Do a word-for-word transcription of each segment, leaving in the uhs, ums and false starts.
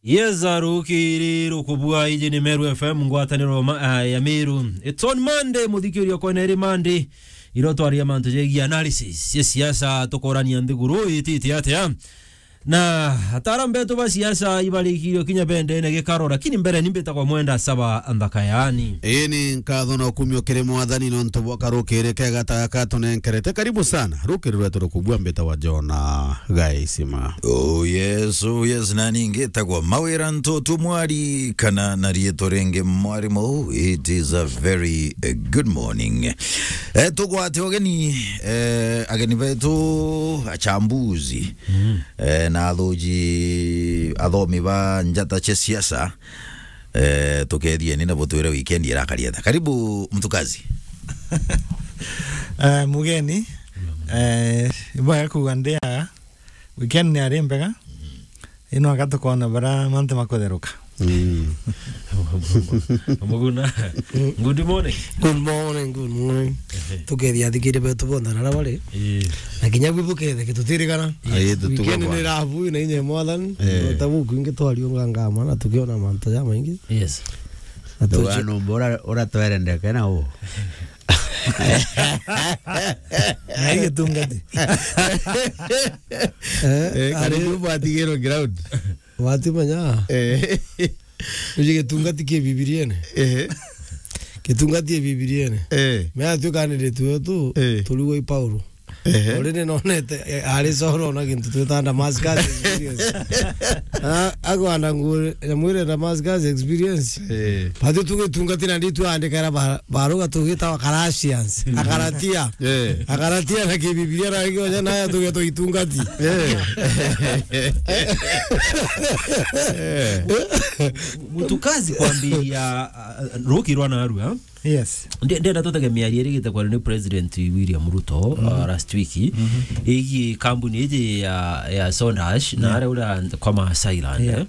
Yes, arukiri rukubua, iji ni Meru F M, ngwataniro ma-, ah, ya Meru. It's on Monday, muthikiria, kwena iri Monday. Iro twaria mantu jegie analysis ya siasa, tukorania nthiguru itite atia. Na ataaramu betu ba siasa ibarikirio kinya bendene gikaro, lakini mbere ni mbitagwa Mwenda Saba Nthaka yani. Ini nkatho na kumio kiri Mwathani nontu bwa karukiri kega ta gaka tunenkerete. Karibu sana. Rukiri rwetu rukubua, mbitagwa Jona Gaisima. Oh yes, oh yes, na ningi tagwa Mawira Ntutu Mwari, kana na riitwa ringi Mwarimu. It is a very, eh, good morning. Eh, tugwate ugeni, eh, ageni betu, achambuzi, eh, na athuji, athomi ba njata cia siasa, eh, tukethieni na butwire weekend irakari atia. Karibu, mtukazi. Eh, mugeni, eh, ibwega kuuga ndi aa, weekend ni ari mbega. Ino aka tukona bara mantu makutheruka. Mm. Muguna. Good morning. Good morning, good morning. Ehe. Tukethia athikiri betu bonthe na aria bari. Ii. Na kinya bwi bukethe gitutirikana. Ai, tutuga. Weekend bwana ni rabu na inya Mwathani. Eh. Ta buku ingi twariunga ngama na tukiona mantu ja maingi. Yes. Na tuci- Wana mbora uratwerendeke na u. Na igitungati. Eh, eh, ari karibu bwatigirwe ground. Watimenya? Eh. Uji gitungati ki Bibiriene? Eh. Gitungati ki Bibiriene? Eh. Mea tukanire tuetu, eh, turigwa i Paulo. Ehe. Already nonete, eh, ari Sauro na gintu twita Damascus experience. Ah, agwanda ngure, nyamwire Damascus experience. Eh. Batu tugitungatina ndi twandikira ba-, baruga tugitawa Galatians, Agalatia. Eh. Agalatia na Kibibilia na ingi onya nayo tuge tuitungati. Eh. Eh. Mutukazi kwambiria, uh, ruki rwa narua. Yes. Nde-, ndenda tutege miario irigite kwaria ni President William Ruto, uh, last week, igie kambuni iji ya, ya Soda Ash, na aria uria kwa Maasai Land, yeah, eh.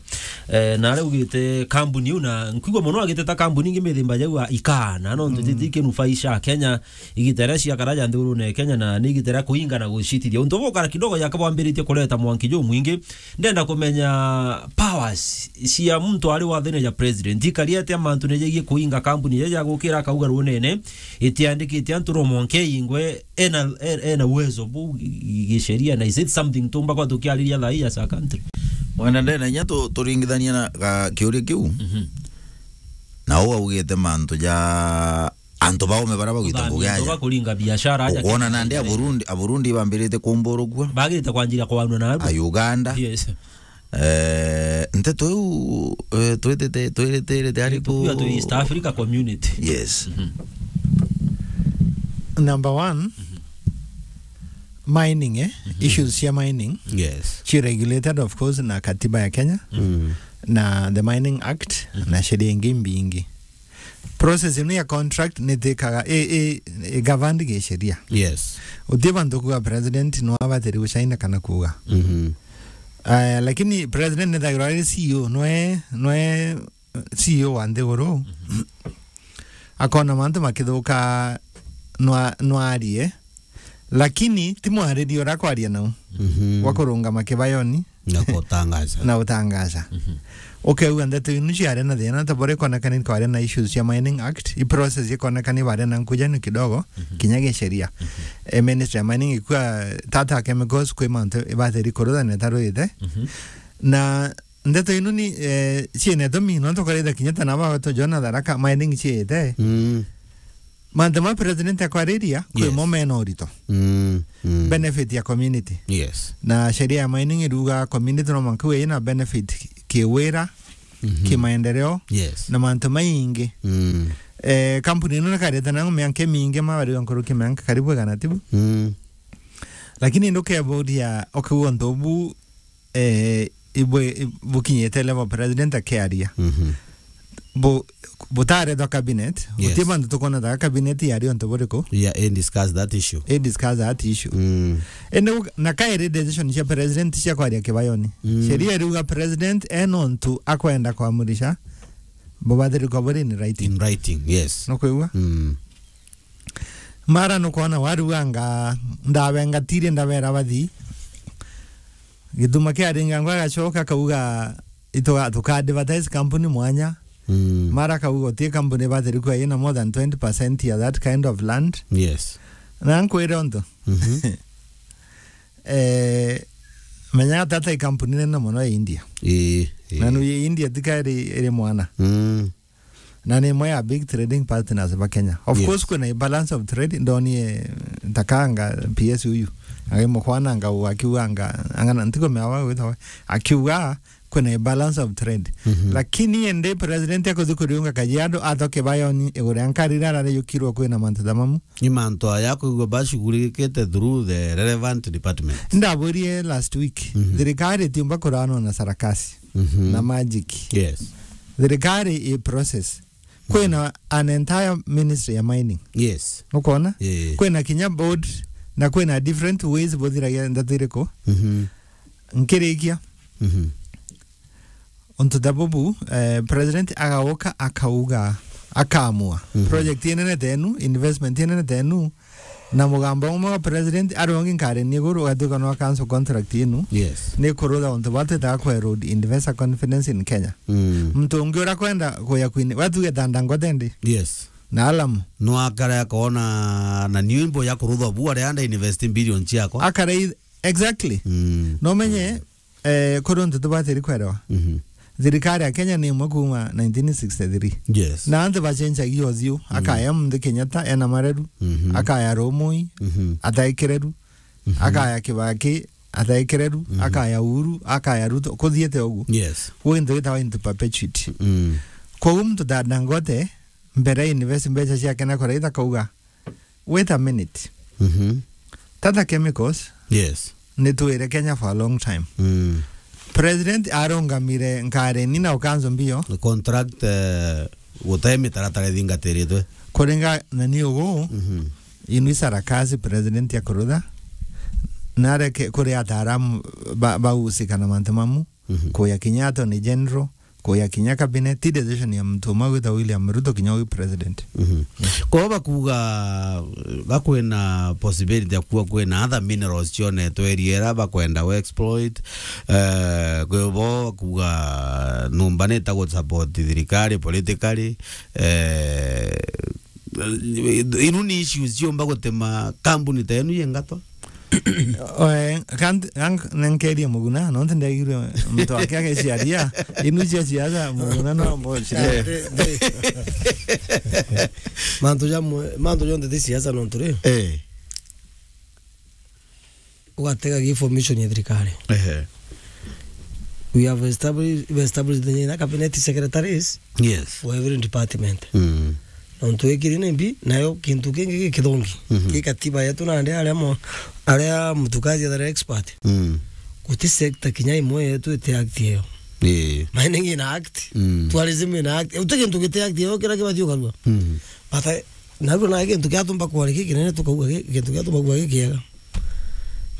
Eh, na aria ugite kambuni iu, na nkwigua mono agiteta kambuni ingi mithemba jau a ikana, no ntu titi kinufaisha Kenya, igita ria ciakara ja nthurune Kenya, na ni igita ria kuinga na gucitithia. Untu bukara kidogo jaka bwambiritie kureta mwanki jumwingi, ndenda kumenya powers cia muntu ari wathene ja president ikari atia mantu ni jegie kuinga kambuni ja, ja gukira akauga runene itiandikite antu no mwanke ingwe ena, ena, ena uwezo bu gi-, gisheria, na is it something tumba kwa tukiariria thaa hii as a country? Mwenda ndena inya tu-, turingithania na ga kiuria kiu. Mhm. Na u augite mantu ja antu baume bara bagwita ngugi aja. Kuringa biashara aja. Ukwona nandi Aburundi, Aburundi bambirite kumburugua. Bagirite kwanjira kwanua na aru. A Uganda. Yes. Eh, nteto iu, eh, twitite, twiritirite ari ku East Africa Community. Yes. Mhm. Number one, mining, eh? Mhm. Issues cia mining. Yes. Ci regulated, of course, na katiba ya Kenya. Mm. Na the Mining Act, mhm, na sheria ingi mbingi. Process ino ya contract nitikaga i, i, i governed gi sheria. Yes. Uti bantu kuga president no abatiri gucaina kana kuga. Mhm. Aya, lakini president nithagirwa ari C E O, nwe, nwe C E O wa nthiguru. Mhm. Akona mantu makithuka nwa-, nwarie. Lakini ti mwariria uria akwaria nau. Mhm. Wa kurungama kibayoni. Na kutangaza. Na utangaza. Mhm. Ukeuga ndeto inu ciari na thina, ta bore ikonekana ni kwari na issues cia Mining Act, i process ikonekana ni bari na nkuja ni kidogo, mhm, kinya gisheria. Mhm. E, Ministry ya Mining ikua tata chemicals kwi mantu ibatiri kurutha na itaruthite. Mhm. Na ndeto inu ni, eh, ciina itumi, no tukaritha kinya ta naba to Jona Tharaka mining ciite. Mm. Mantu ma president akwariria, kwi, yes, mo mena urito. Mm, mm. Benefit ya community. Yes. Na sheria ya mining iruga community no mwanka we ina benefit ki-, kiwira, mhm, kimaendeleo, yes, na mantu maingi. Mm. Eh, kampuni ino nikareta na mianka mingi, mabariga nkuruki mianka karibu igana tibu. Mm. Lakini ndukeburia, okay, untu bu eh, ibwe-, bukinyite level president akiaria. Mhm. Bu-, butarethwa cabinet, yes, guti bantu tukwona ta cabinet yari untu buriku? Yeah, and discuss that issue. And discuss that issue. Mm. Ende u-, na kairi decision cia president cia kwaria kibayoni. Mm. Sheria iriuga president ena untu akwenda kwamurisha, bubathiri kwa buri in writing. In writing, yes. Nukwigua? Mm. Mara nukwona waruganga, ndabengatire ndabera bathi. Gituma kiaringa ngwa agacoka akauga, ituga-, tuka advertise kampuni mwanya. Mm. Mara kauga uti kampuni batiri kwa ina more than twenty percent ya that kind of land. Yes. Na nkwire untu. Mhm. Eh, menya tata i kampuni nene mono ya India. Ii, ii. Na nuye India tika iri, iri mwana. Mm. Na ni imwe ya big trading partners ba Kenya. Of Yes. course, kwina balance of trade, ndonie takanga P S huyu. Agai mukwana nga akiuga nga, angana ntiko meawa gwitawa. Akiuga kwina balance of trade. Mhm. Lakini ende president akuthi kuriunga Kajiado athoke bayoni iguru ya nkari rara riyukirwe kwina mantu tamamu. Ni mantu aya kwigua bashughulikite through the relevant department. Ndaburie last week. Mhm. Thirikari tiumba kurano na sarakasi. Mhm. Na magic. Yes. Thirikari i process. Kwina an entire ministry ya mining. Yes. Ukona? Yeah. Kwina kinya board na kwina different ways buthiragia ndeto iriku. Mhm. Nkirikia. Mhm. Untu ta bubu, eh, president agauka akauga, akaamua. Mhm. Project inene tenu, investment inene tenu, na mugambo umwe wa president ari ungi nkari ni iguru, ugatuika no cancel contract inu. Yes. Ni kurutha untu bwa twitaga ku erode investor confidence in Kenya. Mm. Muntu ungi uria kwenda kuya kwini, watuge ta Dangote ndi? Yes. Na Alam. No akare akona na nyimbo ya kurutha bu aria anda invest billion ciakwa. Akare i-, exactly. Mm. No menye, eh, kuri untu tubatiri kwerewa. Mhm. Thirikari ya Kenya ni imwe kuma nineteen sixty-three. Yes. Na antu bacenjagia uthiu, mhm, akaya Muthu Kenyatta ena mareru, mhm, akaya Rumui, mhm, ataekereru, mhm, akaya Kibaki, ataekereru, mhm, akaya Uhuru, akaya Ruto, kuthiete uguo. Yes. Gwi into gitawa into perpetuity. Mm. Koguo muntu ta Dangote, mbere invest mbeca ciake na kuraitha kauga, "Wait a minute. Mhm. Tata Chemicals, yes, nitwire Kenya for a long time." Mm. President arungamire nkareni na ukanzo mbio. The contract, eh, gute mitaratara ithingatiritwe. Kuringa na ni ugu, mhm, inu isarakasi president ya kurutha, nareke kuri ataaramu ba-, bahusika na mantu mamu, mhm, kuya kinya Attorney General, kuya kinya cabinet, ti decision ya muntu umwe gwita William Ruto kinya wi president. Mhm. Kwou bakuga, gakwina possibility ya kuwa kwina other minerals cionetwe area ira bakwenda we exploit, eh, kwi bo bakuga numba nita gu support thirikari politically, eh, inu ni issues ciumba gutema kambuni ta inu yengatwa? Oe, kanti, ang-, nenkerie Muguna, nontu ndegirwe muntu wake ageciaria, inu cia siasa, Muguna no mbochire. Eh. Mantu ja mwe-, mantu jonthe ti siasa nontu ri. Eh. Ugatega gi formation ya thirikari. Ehe. We have established, we established the cabinet secretaries, yes, for every department. Mm. Nontu ikiri ni mbi, nayo kintu kingi gikithongi. Mhm. Ki katiba yetu nandi aria mo-, aria mutukaji athare expert. Mm. Guti sector kinya imwe yetu iti act iyo. Ii. Mining ina act, mm, tourism ina act. Uti kintu giti act iyo kira kibati ukarua. Mm. But I, naruo na kintu kiatumba kwari ki kinene tukauga ki-, kintu kiatumba kuga gikiega.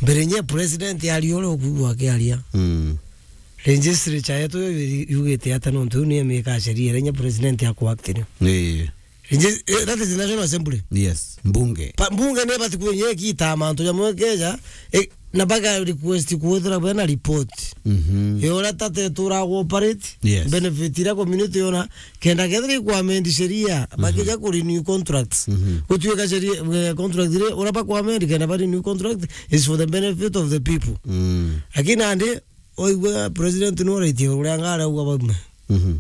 Mbere nye president ari ore ukuigua akiaria. Mm. Legislature yetu yo yu-, yugite ata nontu ni emika sheria iria inya president ya kuact ni. Ii. Legisl-, eh, that is the National Assembly. Yes, mbunge. Pa-, mbunge ni bati kwenye kita mantu ja mwekeja, eh, na baga request kuthira bena report. Mhm. Yo ura tate tura operate, yes, benefit ira community yona, kenda kethira ku amend sheria, mhm, bakija ku renew contracts. Mhm. Gutuika sheria, eh, contract ire, ura ba ku amend kenda ba renew contract is for the benefit of the people. Mm. Lakini andi, oigua president no raitie uria ngara uga baume. Mhm.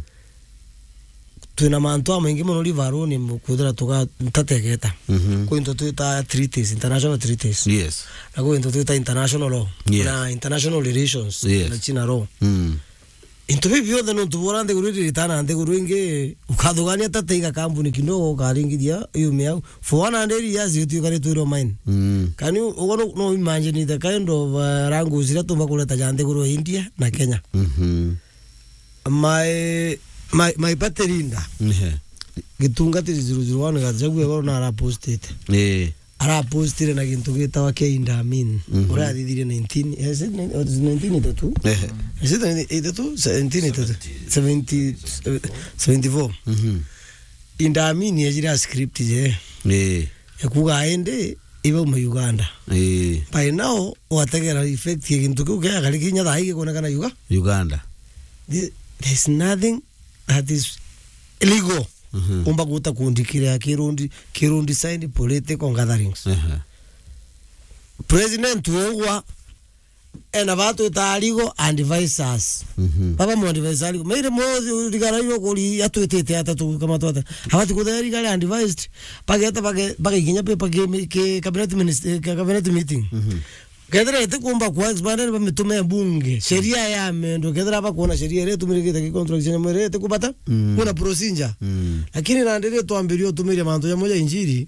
Twina mantu amaingi mono rivaruni kuthira tuga ntategeta. Mhm. Kwi into twita treaties, international treaties. Yes. Na kwi into twita international law. Yes. Na international relations. Yes. Na China law. Mm. Into bibi bionthe nontu bora nthiguru iri ritana nthiguru ingi, ukathugania ta teiga kambuni kidogo ukaringithia yume au. For one hundred years, you tuikare twirwo mine. Mm. Can you, ugo no, no imagine the kind of, uh, rango zira tumba kureta ja nthiguru ya India na Kenya? Mhm. My, my, my party leader. Ehe. Gitunga three zero zero one gathagu ego na arapostite. Eh. Arapostire na gintu gitawa kia Indamin. Mhm. Uria athithirie nineteen, is it nine-, what is nineteen eighty-two? Ehe. Is it eighty-two? Seventeen eighty-two? Seventy, eh, seventy-four. Mhm. Indamin yejire a script je. Eh. Ekuga indi ibauma Uganda. Eh. By now, wategera effect ya gintu kiu kia gari kinya thaa hii gikonekana Uga-, Uganda. Thi-, There is nothing that is legal. Mhm. Umba guta kundikira kirundi, kirundi sign political gatherings. Ehe. President wengwa ena batu itarigo advisors. Mhm. Baba mu advisor arigo. Mere mo rigara yo kuri atwitite ata tu kama twata. Habati kutheri gari advised. Bageta bage-, bagaikinya pe page ke cabinet minister, ke cabinet meeting. Mhm. Kethira itikumba kwa expanded bamitume bunge, sheria ya mendo, kethira bakuona sheria iria itumirikite ki contract cia nyamwiri itikubata, mm, kuna procedure. Mm. Lakini nandi ri twambirie utumiria mantu jamwe ja injiri,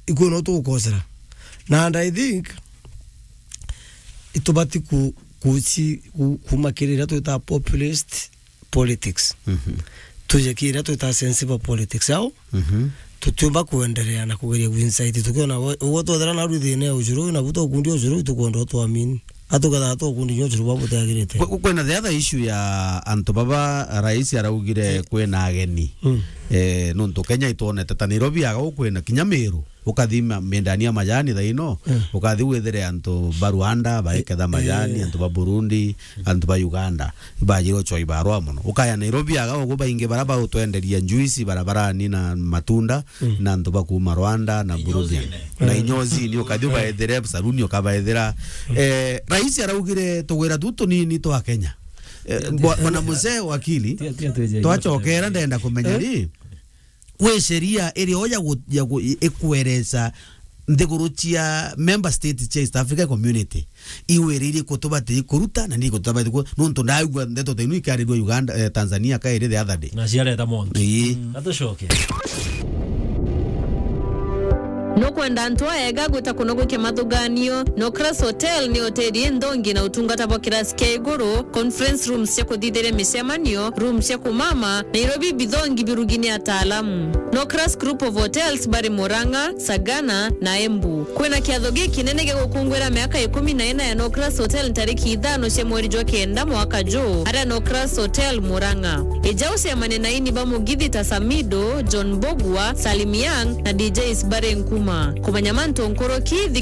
ikuo no tugukosera. Na and I think itubati ku-, kuci-, ku-, kuma kiri iria twita populist politics. Mhm. Tuje kiri iria twita sensible politics. Au? Mhm. Tutiumba kuenderea na kugeria kuincite. Tukiona we-, uguo twethira naru thina ya ujuru, nabu tukundi ujuru, itukwenda utwamini. Atuketha tukundi nyo ujuru bwa butiagirite. Kwe-, kwina the other issue ya antu baba rais araugire, eh, kwina ageni. Mm. Eh, nontu Kenya itwonete ta Nairobi aga ukwina kinya Meru. Ukathi ma-, mindani ya majani thaino, mm, ukathi withire antu ba Rwanda baiketha majani, eh, antu ba Burundi, antu ba Uganda, bajire uchwa ibarwa mono. Ukaya Nairobi aga ugu baingi bara bautwenderia njuici barabarani na matunda, mm, na antu ba kuma Rwanda na Burundi. Na inyozini, ukathi ubaethire, saruni ukabaethira. Mm. Eh, rais araugire tugwira tu tunini twa Kenya. Eh, bwa-, bwana mzee wakili, twachokera ndenda kumenya, eh, ri, kwi sheria iria o ya gu-, ya gu-, i-, ikweresa nthiguru cia member state cia East Africa Community iwiririe kutubati kuruta na ni kutubati ku-, nontu ndaigua ndeto ta inu ikiarirua Uganda, eh, Tanzania kairi the other day. Na ciareta montu. Ii. Mm. Atucoke. Nukwenda antu aega gwita kuno gwikia mathuganio? Nocras Hotel ni hoteli inthongi na utungata bwa kirasi kia iguru, conference rooms cia kuthithiria micemanio, rooms cia kumama, Nairobi bithongi birugi ni ataalamu. Nocras Group of Hotels bari Murang'a, Sagana na Embu. Kwina kiatho gikinene gia gukungwira miaka ikumi na ina ya Nocras Hotel ntariki ithano cia mweri jwa kenda mwaka juu, aria Nocras Hotel Murang'a. Ija ucemanie na ini ba mugithi ta Samido, John Bogwa, Salim Young na D Js bari Nkuma. Kumenya mantu nkuruki,